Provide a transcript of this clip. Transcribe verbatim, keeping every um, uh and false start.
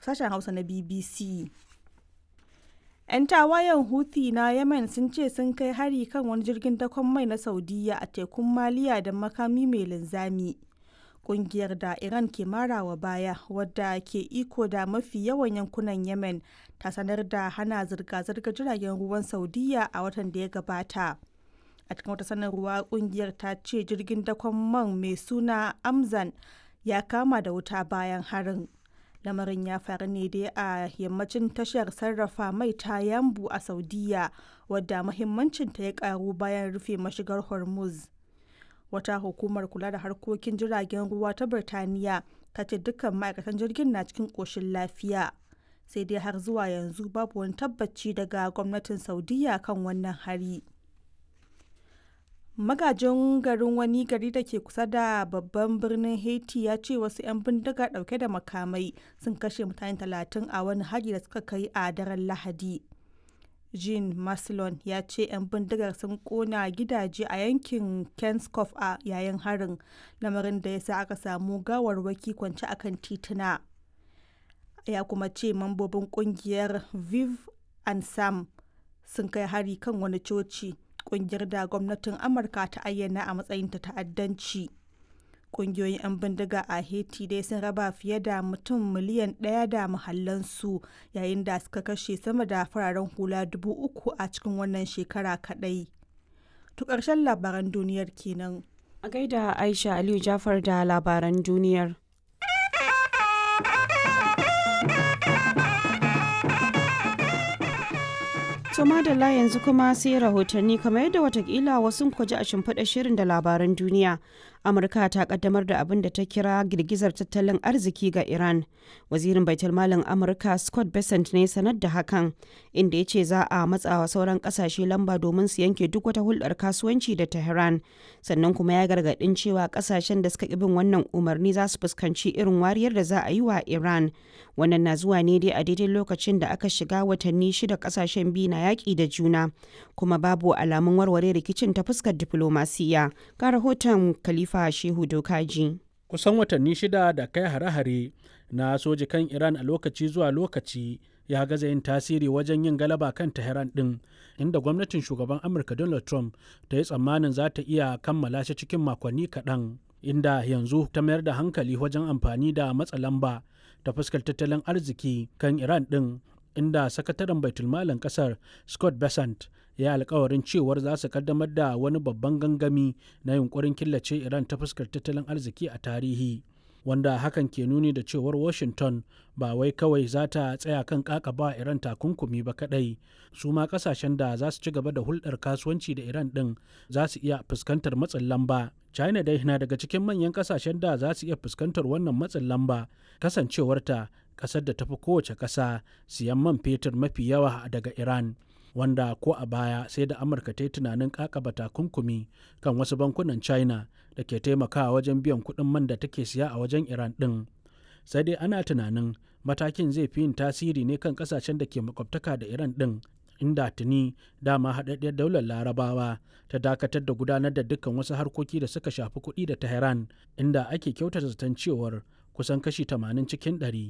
Sashen Hausa na B B C. 'Yan tawayen Houthi na Yemen sun ce sun kai hari kan wani jirgin dakon mai na Saudiyya a tekun Maliya da makami mai linzami. Kungiyar da Iran ke marawa baya, wadda ke iko da mafi yawan yankunan Yemen, ta sanar da hana zirga-zirgar jiragen ruwan Saudiyya a watan da ya gabata. A cikin wata sanarwa, kungiyar ta ce jirgin dakon man mai suna Amzan ya kama da wuta bayan harin. Lamarin ya faru ne dai a yammacin tashar sarrafa mai ta Yambu a Saudiya, wadda muhimmancinta ya karu bayan rufe mashigar Hormuz. Wata hukumar kula da harkokin jiragen ruwa ta Birtaniya ta ce dukkan ma'aikatan jirgin na cikin ƙoshin lafiya. Sai dai har zuwa yanzu babu wani tabbaci daga gwamnatin Saudiya kan wannan hari. Magajin garin wani gari da ke kusa da babban birnin Haiti ya ce wasu 'yan bindiga dauke da makamai sun kashe mutane talatin a wani hari da suka kai a daren Lahadi. Jean Maslon ya ce 'yan bindigar sun kona gidaje a yankin Kenskoff a yayin harin, lamarin da ya sa aka samu gawarwaki kwance akan tituna. Ya kuma ce mambobin kungiyar Viv and Sam sun kai hari kan wani coci, kungiyar da gwamnatin Amurka ta ayyana a matsayin ta ta'addanci. Kungiyoyin 'yan bindiga a Haiti dai sun raba fiye da mutum miliyan ɗaya da mahallansu, yayin da suka kashe sama da fararen hula dubu uku a cikin wannan shekara kaɗai. To, ƙarshen labaran duniyar kenan. A gaida Aisha Aliyu Jafar da labaran duniyar. To madalla, yanzu kuma sai rahotanni. Kamar yadda watakila wasu ku ji a shimfiɗa shirin da labaran duniya. Amurka ta kaddamar da abin da ta kira girgizar tattalin arziki ga Iran. Wazirin Baitulmalin Amurka Scott Bessent ne sanar da hakan, inda ya ce za a matsawa sauran kasashe lamba domin su yanke duk wata hulɗar kasuwanci da Tehran. Sannan kuma ya gargaɗin cewa kasashen da suka ƙi bin wannan umarni za su fuskanci irin wariyar da za a yi wa Iran. Wannan na zuwa ne dai a daidai lokacin da aka shiga watanni shida kasashen biyu na yaƙi da juna, kuma babu alamun warware rikicin ta fuskar diflomasiya. Ga rahoton Khalifa Shehu Dokaji. Kusan watanni shida da kai hare-hare na soji kan Iran a lokaci zuwa lokaci ya gaza yin tasiri wajen yin galaba kan Tehran din, inda gwamnatin shugaban Amurka Donald Trump ta yi tsammanin za ta iya kammala shi cikin makonni kaɗan, inda yanzu ta mayar da hankali wajen amfani da matsa lamba ta fuskar tattalin arziki kan Iran din, inda sakataren baitulmalin kasar Scott Bessent ya alkawarin cewar za su kaddamar da wani babban gangami na yunkurin killace Iran ta fuskar tattalin arziki a tarihi, wanda hakan ke nuni da cewar Washington ba wai kawai za ta tsaya kan kakaba Iran takunkumi ba kadai, su ma kasashen da za su ci gaba da hulɗar kasuwanci da Iran din za su iya fuskantar matsin lamba. China dai na daga cikin manyan kasashen da za su iya fuskantar wannan matsin lamba, kasancewarta kasar da tafi kowace kasa siyan man fetur mafi yawa daga Iran, wanda ko a baya sai da Amurka ta yi tunanin kakaba takunkumi kan wasu bankunan China da ke taimakawa wajen biyan kuɗin man da take siya a wajen Iran ɗin. Sai dai ana tunanin matakin zai fi yin tasiri ne kan kasashen da ke makwabtaka da Iran ɗin, inda tuni dama haɗaɗɗiyar Daular Larabawa ta dakatar da gudanar da dukkan wasu harkoki da suka shafi kuɗi da Tehran, inda ake kyautata zaton cewar kusan kashi tamanin cikin ɗari